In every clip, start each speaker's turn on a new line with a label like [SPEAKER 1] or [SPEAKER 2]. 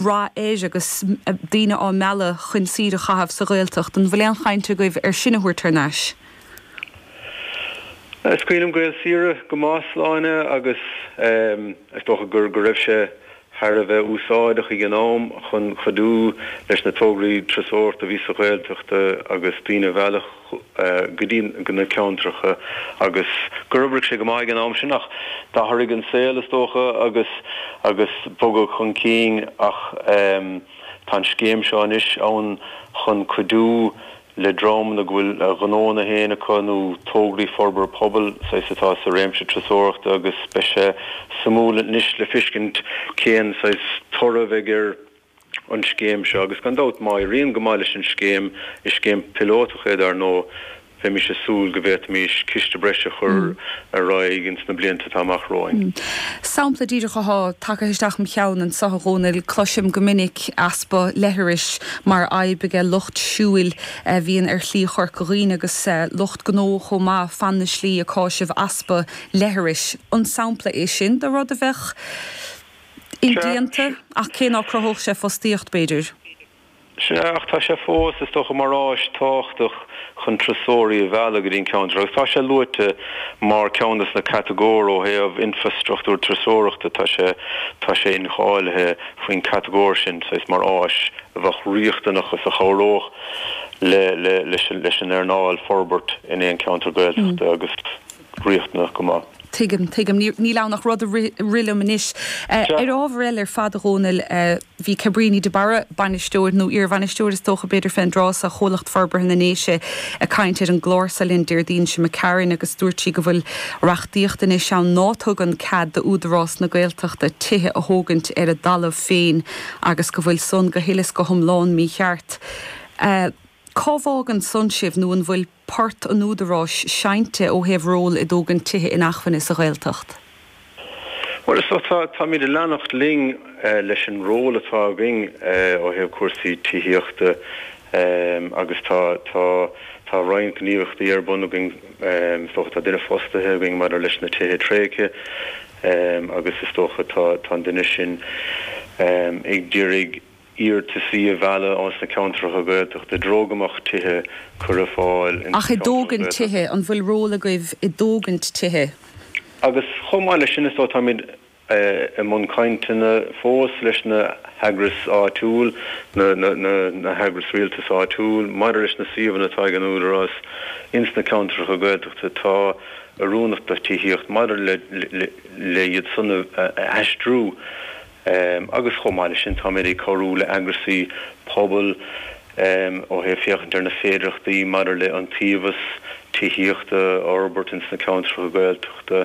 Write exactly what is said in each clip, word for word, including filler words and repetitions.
[SPEAKER 1] rath air agus daoine á mealladh chun saoire a chaitheamh sa Ghaeltacht. An bhfuil aon chaint agaibh ar sin a thabhairt thar n-ais?
[SPEAKER 2] Is cuimhin liom Gaelsaoire go maith, Sláine, agus is dócha gur go raibh sé thar a bheith úsáideach ag an am chun cuidiú leis na tograí turasóireachta a bhí sa Ghaeltacht agus daoine a mhealladh go dtí na ceantracha agus gur oibrigh sé go maith ag an am sin ach d'athraigh an saol is dócha agus agus bogadh chun cinn ach tá an scéim seo anois ann chun cuidiú le dreamanna go bhfuil a ngnónna féin acu nó tograí forbartha pobail saghas atá sa réimse turasóireachta agus beidh sé suimiúil anois le feiscint cén saghas toradh a bheidh ar an scéim seo agus gan dabht má éiríonn go maith leis an scéim, is scéim píolótach é dar ndóigh, bheimis ag súil go bhféadfaimis ciste breise a chur ar aghaidh ins na blianta atá amach romhainn.
[SPEAKER 1] Sampla díreach atá tagtha isteach im cheann anseo a Dhónaill, cloisim go minic easpa leithris mar fhadhb aige lucht siúil a bhíonn ar Shlí Chorca Dhuibhne agus lucht gnó chomh maith fan na slí ag cáiseamh easpa leithris. An sampla é sin de rud a bheadh indéanta ach cé ná cruthódh sé fostaíocht b'fhéidir?
[SPEAKER 2] Sea, ach tá sé fós, is dócha, mar áis tábhachtach chun turasóirí a mhealladh go dtí an ceantar agus tá sé luaite mar ceann de na catagóir ó thaobh infrastruchtúr turasóireachta, tá sé, tá sé incháilithe faoin catagóir sin, saghas mar áis a bheadh riachtanach agus a chabhródh le, le, leis, leis an earnáil forbairt in aon cheantar Gaeltachta agus riachtanach go maith.
[SPEAKER 1] Tuigim, tuigim. Níl ann ach rud a rith liom anois. Ar ábhar eile ar fad, a Dhónaill, bhí Cabríní de Barra, bainisteoir, nó iarbhainisteoir is dócha b'fhéidir fén dtráth so, Chomhlacht Forbartha na nDéise, ag caint ar an gclár seo linn Déardaoin seo imigh tharainn agus dúirt sí go bhfuil reachtaíocht anois ann ná tugann cead d'Údarás na Gaeltachta tithe a thógaint ar a dtalamh féin agus go bhfuil san go huile is go hiomlán mícheart. Cá bhfágann san sibh nó an bhfuil port an Údaráis seinnte ó thaobh ról i dtógaint tithe inacmhainne sa Ghaeltacht?
[SPEAKER 2] Bhuel, is dócha, táimid ag leanacht linn leis an ról atá againn ó thaobh cúrsaí tithíochta agus tá, tá, tá roinnt gníomhaíochtaí ar bun againn. Is dócha, tá duine fostaithe againn maidir leis na tithe tréigthe agus is dócha tá, tá an duine sin ag iarraidh iarrataisí a mhealladh ós na ceantracha Gaeltachta i dtreo go mbeadh tithe curtha ar fáil ins
[SPEAKER 1] Ach
[SPEAKER 2] na
[SPEAKER 1] i
[SPEAKER 2] ceantracha
[SPEAKER 1] dtógaint
[SPEAKER 2] Gaeltachta.
[SPEAKER 1] tithe, an bhfuil ról agaibh i dtógaint tithe?
[SPEAKER 2] Agus chomh maith leis sin, is dóigh, táimid i mbun cainteanna fós leis na heagrais áitiúil, na na heagrais rialtais áitiúil, maidir leis na suíomhanna atá ag an Údarás ins na ceantracha Gaeltachta atá oiriúnach do tithíocht, maidir le le iad san a aistriú. Agus chomh maith leis sin, táimid ag cabhrú le eagraisí pobail ó thaobh féachaint ar na féidearthachtaí maidir le iontaobhas tithíochta a fhorbairt ins na ceantracha Gaeltachta.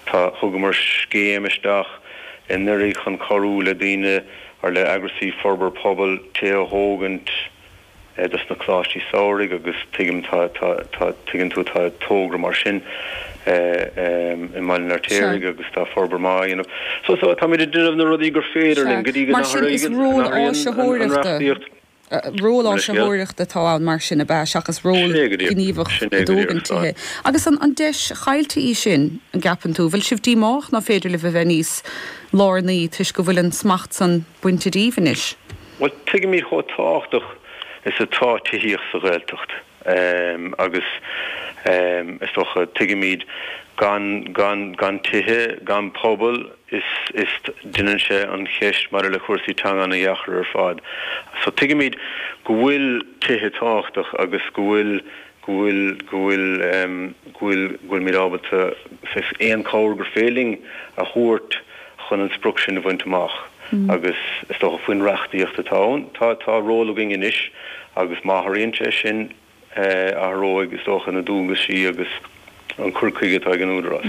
[SPEAKER 2] Tá, thugamar scéim isteach anuraidh chun cabhrú le daoine or le eagraisí forbartha pobail tithe a thógaint, dos na coláistí samhraidh agus tuigim tá tá tá tuigeann tú tá togra mar sin i mBaile an
[SPEAKER 1] Sea.
[SPEAKER 2] Fheirtéaraigh agus tá forbairt maith á dhéanamh. So so táimid ag déanamh na rudaí gur féidir
[SPEAKER 1] Sea.
[SPEAKER 2] linn go dtí go
[SPEAKER 1] Mar sin is
[SPEAKER 2] n-athraíonn
[SPEAKER 1] ról
[SPEAKER 2] an an
[SPEAKER 1] áisitheoireachta,
[SPEAKER 2] reachtaíocht.
[SPEAKER 1] ról
[SPEAKER 2] Mo leithscéal.
[SPEAKER 1] áisitheoireachta atá ann mar sin, ab ea, seachas ról
[SPEAKER 2] Sin é go díreach.
[SPEAKER 1] gníomhach
[SPEAKER 2] Sin
[SPEAKER 1] i
[SPEAKER 2] é go díreach,
[SPEAKER 1] dtógaint
[SPEAKER 2] Sláine.
[SPEAKER 1] tithe. Agus an an deis chaillte í sin, an gceapann tú? Bhfuil sibh díomách ná féidir libh a bheith níos lárnaí toisc go bhfuil an smacht san bainte díbh anois?
[SPEAKER 2] Bhuel, tuigimid chomh tábhachtach is atá tithíocht sa Ghaeltacht agus is dócha, tuigimid gan, gan, gan tithe, gan pobal, is, is, déanann sé an cheist maidir le cúrsaí teanga ana-dheacair ar fad. So tuigimid go bhfuil tithe tábhachtach agus go bhfuil, go bhfuil, go bhfuil, go bhfuil, go bhfuilimid ábalta saghas aon chabhair gur féidir linn a thabhairt chun an sprioc sin a bhaint amach agus is dócha faoin reachtaíocht atá ann, tá, tá ról againn anois agus má athraíonn sé sin, athróidh is dócha na dualgaisí agus an cur chuige atá ag an Údarás.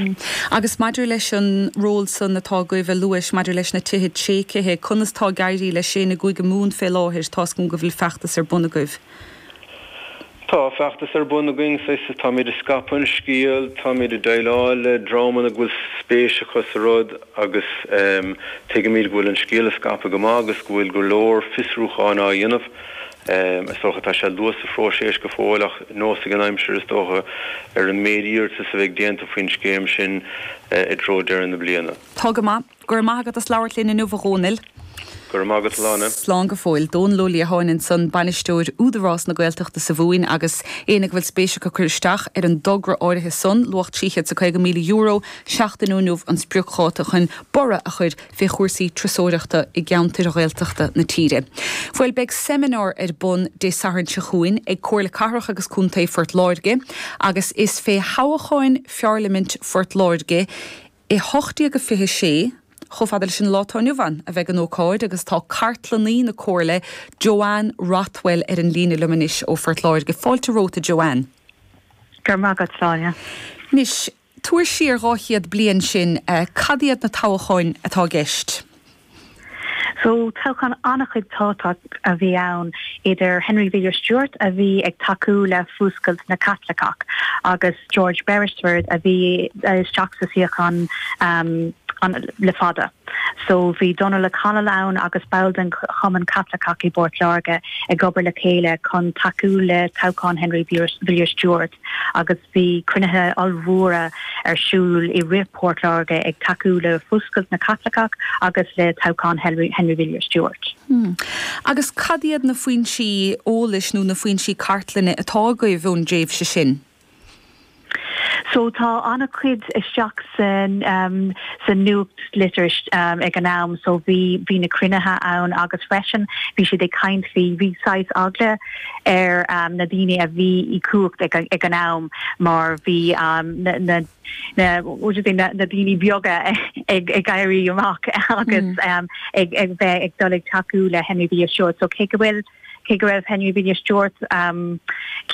[SPEAKER 1] Agus maidir leis an ról san atá agaibh a luais maidir leis na tithe tréigthe, conas tá ag éirí leis sin i gCúige Mumhan fé láthair? Tá's agam go bhfuil feachtas ar bun agaibh.
[SPEAKER 2] Tá feachtas ar bun againn, saghas, táimid ag scaipeadh an scéil, táimid ag déileáil le dreamanna go bhfuil spéis acu sa rud agus tuigimid go bhfuil an scéal ag scaipeadh go maith agus go bhfuil go leor fiosrúcháin á dhéanamh. Is dócha tá sé luath sa phróiseas go fóill ach neosfaidh an aimsir is dócha ar an méid iarratas a bheidh déanta faoin scéim sin i dtreo deireadh na bliana.
[SPEAKER 1] Tá go maith. Go raibh maith agat as labhairt linn inniu, a Dhónaill.
[SPEAKER 2] Go raibh maith agat, a Shláine.
[SPEAKER 1] Slán go fóill. Dónal Ó Liatháin ansan, Bainisteoir Údarás na Gaeltachta sa Mhumhain agus éinne go bhfuil spéis acu cur isteach ar an dtogra áirithe san, luach trí chéad is a caoga míle euro, seachtain ó inniu an spriocdháta chun borradh a chur fé chúrsaí turasóireachta i gceantair Ghaeltachta na tíre. Bhuel, beidh seimineár ar bun Dé Sathairn seo chugainn ag Comhairle Cathrach agus Contae Phort Láirge agus is fé thoghcháin Pharlaimint Phort Láirge i hocht déag a fiche sé, Chomh fada leis an lá atá inniu ann a bheidh an ócáid agus tá cartlannaí na Comhairle, Joanne Rothwell ar an líne liom anois ó Phort Láirge. Fáilte romhat a Joanne.
[SPEAKER 3] Go raibh maith agat, Sláine.
[SPEAKER 1] Anois, tabhair siar dhá chéad bliain sinn, cad iad na toghcháin atá i gceist?
[SPEAKER 3] So, toghchán an-chuid tábhachtach a bhí ann idir Henry Villiers Stuart a bhí ag tacú le fuascailt na Caitliceach agus George Beresford a bhí isteach sa suíochán um, an, le fada. So bhí Donal O'Connell ann agus ball den Chumann Caitliceach i bPort Láirge ag obair le chéile chun tacú le toghchán Henry Villiers Stuart agus bhí cruinnithe ollmhóra ar siúl i rith Port Láirge ag tacú le fuascailt na Caitliceach agus le toghchán Henry, Henry Villiers Stuart.
[SPEAKER 1] Hmm. Agus cad iad na foinsí eolais nó na foinsí cartlainne atá agaibh ón dtréimhse sin?
[SPEAKER 3] So tá an-chuid isteach san um, sa nuachtlitir um, ag an am, so bhí bhí na cruinnithe ann agus freisin bhí siad ag caint faoi bhí saghas eagla ar um, na daoine a bhí i cumhacht ag, ag an am mar bhí um, na, na na na, na daoine beaga ag ag éirí amach agus mm. um, ag ag bheith ag dul ag tacú le Henry Villiers Stuart so cé go bhfuil cé go raibh Henry Villiers Stuart um,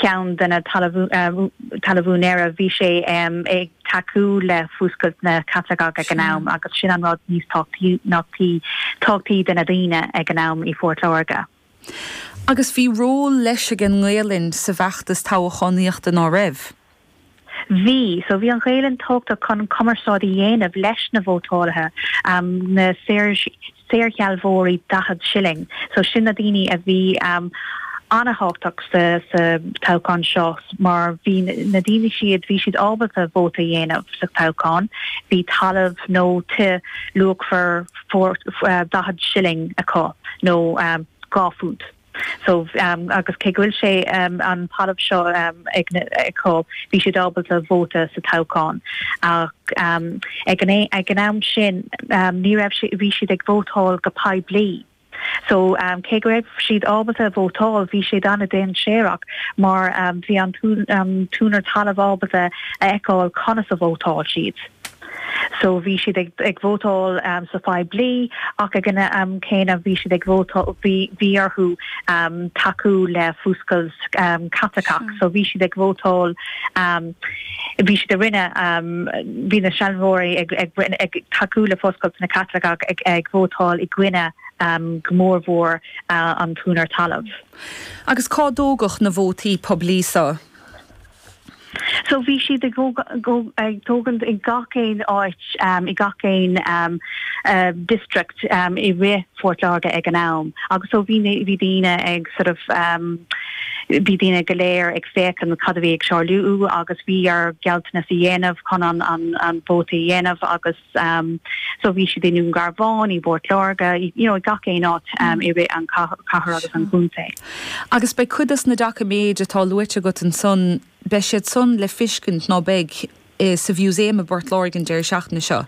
[SPEAKER 3] ceann de na talamhúinéirí bhí sé um, ag tacú le fuascailt na Caitliceach ag an am agus sin an rud níos tábhachtaí tábhachtaí do na daoine ag an am i Phort Láirge.
[SPEAKER 1] Agus bhí ról leis ag an nGaelainn sa bhfeachtas toghchánaíochta ná raibh.
[SPEAKER 3] Bhí, so bhí an Ghaelainn tábhachtach chun cumarsáid a dhéanamh leis na vótálaithe um, na saorshealbhóirí daichead shilling. So sin na daoine a bhí um, an-tábhachtach sa, sa toghchán seo mar bhí na daoine siad bhí siad ábalta vóta dhéanamh sa toghchán, bhí talamh nó tí luachmhar uh, daichead shilling acu nó um, dhá phunt. So um, agus cé go bhfuil sé um, an talamh seo um, ag acu bhí siad ábalta vóta sa toghchán ach um, ag an ag an am sin um, ní raibh bhí siad ag vótáil go poiblí. So um, cé go raibh siad ábalta vótáil bhí sé an-dainséarach mar um, bhí an um, t-úinéir talaimh ábalta a fheiceáil conas a vótáil siad. So bhí siad ag, ag vótáil um, sa phoiblí ach ag an am céanna bhí siad ag vótáil bhí bhí orthu um, tacú le fuascailt um, Caitliceach, so bhí siad ag vótáil um, bhí siad a rinne um, bhí na sealbhóirí ag, ag, ag tacú le fuascailt na Caitliceach ag, ag vótáil i gcoinne um, go mórmhór uh, an t-úinéir talaimh.
[SPEAKER 1] Agus cá dtógadh na vótaí poiblí seo?
[SPEAKER 3] So bhí siad ag ag tógaint i gach aon áit um, i gach aon um, uh, district um, i rith Phort Láirge ag an am. Agus so bhí bhí daoine ag sort of um, bhí daoine go léir ag féachaint cad a bhí ag tarlú agus bhí ar gealltanas a dhéanamh chun an an, an vóta a dhéanamh agus um, so bhí siad i nDún Garbhán i bPort Láirge you know, gach aon áit um, i rith an cathair agus an chontae.
[SPEAKER 1] Agus beidh cuid des na doiciméid atá luaite agat ansan beidh siad san le feiscint ná beidh eh, sa mhúsaem i bPort Láirge an deireadh seachtaine seo.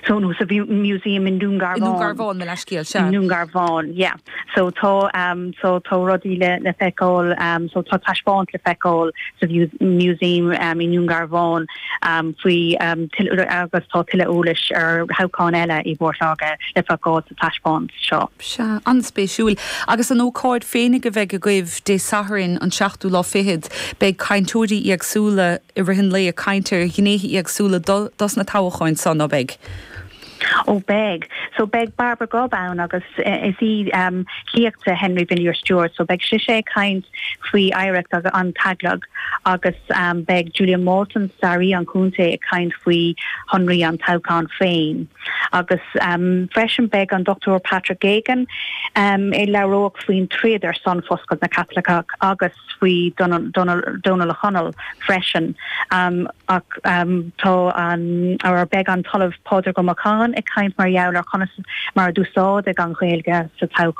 [SPEAKER 3] So no sa museum in Dún Garbhán.
[SPEAKER 1] Dún Garbhán mo leithscéal
[SPEAKER 3] sea. Dún Garbhán, yeah. So tá um, so tá rudaí le le feiceáil um, so tá taispeáint le feiceáil sa museum um, i Dún Garbhán um, faoi um, agus tá tuilleadh eolais ar thoghcháin eile i bPort Láirge le feiceáil sa taispeáint seo.
[SPEAKER 1] Sea, an-spéisiúil. Agus an ócáid féinig a bheidh agaibh Dé Sathairn an seachtú lá fichead, beidh cainteoirí éagsúla i rith an lae ag caint ar ghnéithe éagsúla dos na toghcháin san ná beidh.
[SPEAKER 3] Ó beidh. So beidh Barbara Grubb ann agus eh, is í um, lia Henry Villiers Stuart, so beidh sise ag caint faoi oidhreacht agus an teaghlaigh agus um, beidh Julia Morton staraí an chontae ag caint faoi shonraí an toghcháin féin. Agus um, freisin beidh an Dr Patrick Geoghegan um, ag labhairt faoin troid ar son fuascailt na Caitliceach agus faoi Donal O'Connell freisin um, ach um, tá an ar beidh an tOllamh Pádraig Ó Macháin ag caint mar gheall ar conas mar a d'úsáideadh an Ghaeilge sa toghchán.